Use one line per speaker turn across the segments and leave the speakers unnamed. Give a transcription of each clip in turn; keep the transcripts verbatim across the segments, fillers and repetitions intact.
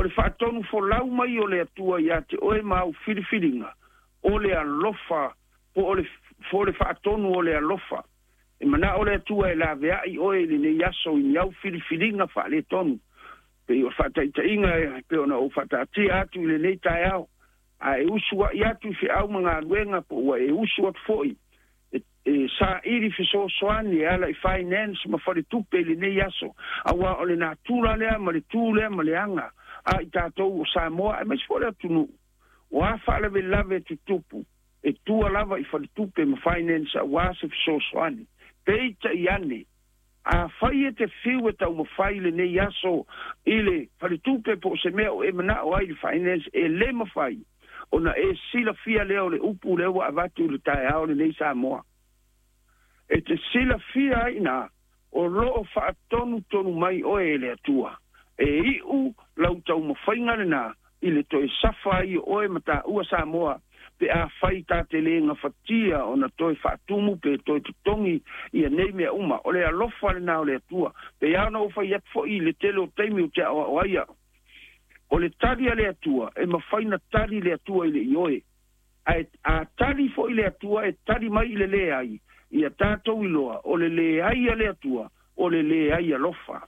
O le faatonu folau mai o le Atua ia te oe ma au filifiliga, o le alofa, po o le, po le faatonu o le alofa. E manao le Atua e laveai oe i lenei aso i ni au filifiliga faaletonu. Pei o faataitaiga e pei ona ou faataatia atu i lenei taeao. A e usu ai atu i feau ma galuega po ua e usu atu foi e, e saili fesoasoani e ala i finance ma faletupe i lenei aso. Auā o le natura lea ma le tu lea ma le aga a i tatou o Samoa aemaise foi le atunuu. O a faalavelave tutupu e tua lava i faletupe ma finance auā se fesoasoani. Peitai ane, afai e te fiu e taumafai lenei aso i le faletupe po o se mea o e manao ai i le finance, e lē mafai ona e silafia lea o le upu lea ua avatu i le taeao lenei Samoa. E te silafia ai ina o loo faatonutonu mai oe e le Atua. E iu lau taumafaiga lenā i le toe safa ai o oe ma taua Samoa pe afai ta te lē gafatia ona toe faatumu pe toe totogi ia nei mea uma. O le alofa lenā o le Atua. Pe ia ona ou fai atu foi i le tele o taimi ou te aoao ai au. O le tali a le Atua, e mafai na tali le Atua i le ioe. Ae a tali foi le Atua e tali mai i le leai, ia tatou iloa, o le leai a le Atua, o le leai alofa.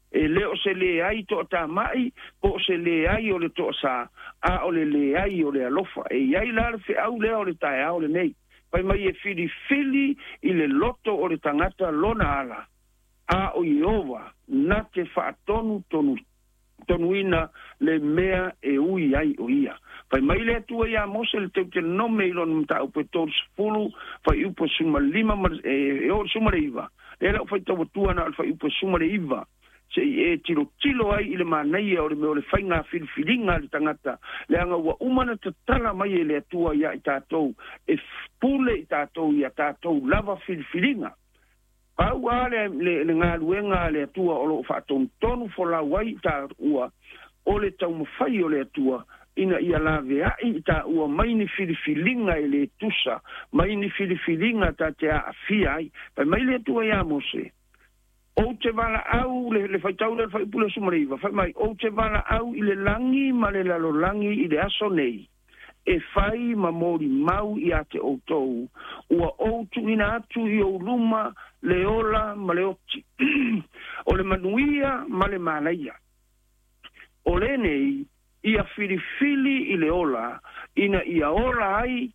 E le o se leai toatama'i, po o se leai o le toasā, a o le leai o le alofa. E iai la le feau lea o le taeao lenei. Fai mai e filifili i le loto o le tagata lona ala, a o Ieova na te faatonu tonu tonuina le mea e ui ai o ia. Fai mai le Atua iā Mose le Teutelonome i lona mataupu e tolusefulu, fuaiupu e sefulumalima ma e, e oo i le sefulumalaiva. Lea la ou faitau atua na o le fuaiupu e sefulumalaiva, se'i e tilotilo ai i le manaia o le mea o le faiga filifiliga a le tagata, leaga ua uma na tatala mai e le Atua iā i tatou, e pule i tatou ia tatou lava filifiliga. Pau lava le, le, le galuega a le Atua o loo faatonutonu folau ai i taua, o le taumafai o le Atua ina ia laveai i taua mai ni filifiliga e lē tusa, mai ni filifiliga ta te aafia ai. Fai mai le Atua iā Mose, ou te valaau, le, le faitau lea le fuaiupu le sefulumalaiva, fai mai, ou te valaau i le lagi ma le lalolagi i le aso nei, e fai ma molimau ia te outou, ua ou tuuina atu i ou luma le ola ma le oti, o le manuia ma le manaia. O lenei, ia filifili i le ola, ina ia ola ai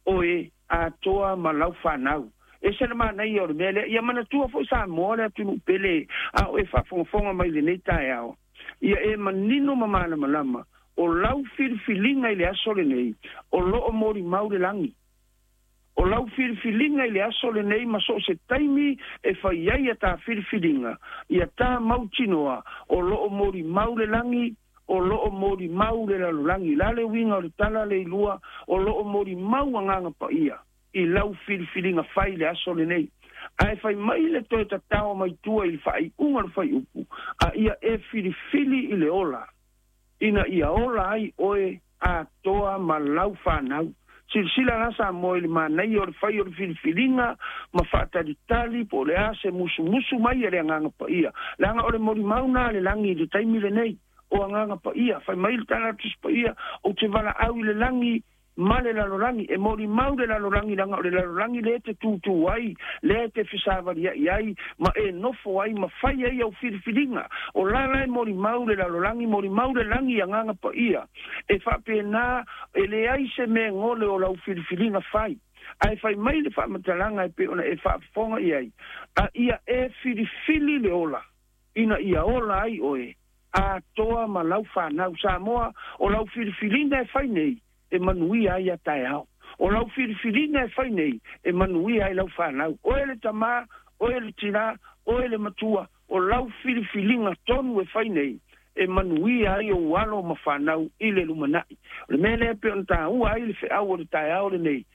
oe atoa ma lau fanau. E se le manaia o le mea lea. Ia manatua foi Samoa le atunuu pele, a o e faafogafoga mai lenei taeao. Ia e manino ma malamalama, o lau filifiliga i le aso lenei, o loo molimau le lagi. O lau filifiliga i le aso lenei ma so o se taimi e fai ai ia tā filifiliga, ia tā mautinoa, o loo molimau le lagi, o loo molimau le lalolagi. La le uiga o le tala le ilua, o loo molimau agaga paia i lau filifiliga fai le aso lenei. Ae fai mai le toe tatao mai tua i le faaiuga o le fuaiupu, a ia e filifili i le ola, ina ia ola ai oe atoa ma lau fanau. Silasila la Samoa i le manaia o le fai o le filifiliga ma faatalitali po o le a se musumusu mai a le agaga paia. Leaga o le molimau na a le lagi i le taimi lenei, o agaga paia. Fai mai le tala Tusi Paia, ou te valaau i le lagi ma le lalolagi. E molimau le lalolagi, leaga o le lalolagi lea e te tutū ai, lea e te fesavaliai ai, ma e nofo ai, ma fai ai au filifiliga. O la la e molimau le lalolagi, molimau le lagi i agaga paia. E faapena, e leai se mea gole o lau filifiliga fai. Ae fai mai le faamatalaga e pei ona e faafofoga i ai, a ia e filifili le ola, ina ia ola ai oe atoa ma lau fanau. Samoa, o lau filifiliga e fai nei, e manuia ai a taeao. O lau filifiliga e fai nei, e manuia ai lau fanau. Oe le tamā, oe le tinā, oe le matua, o lau filifiliga tonu e fai nei, e manuia ai ou alo ma fanau i le lumanai. O le mea lea pei ona taua ai le feau o le taeao lenei,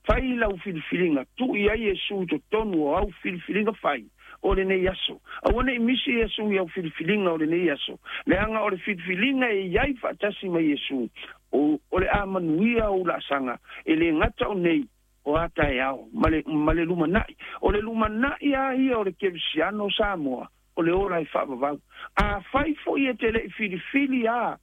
fai lau filifiliga, tuu i ai Iesu i totonu o au filifiliga fai o lenei aso. Aua nei misi Iesu i au filifiliga o lenei aso. Leaga o le filifiliga e iai faatasi ma Iesu, o, o le a manuia ou laasaga, e lē gata o nei, o a taeao, ma le, ma le lumanai. O le lumanai a ia o le kerisiano Samoa, o le ola e faavavau. Afai foi e te lei filifili a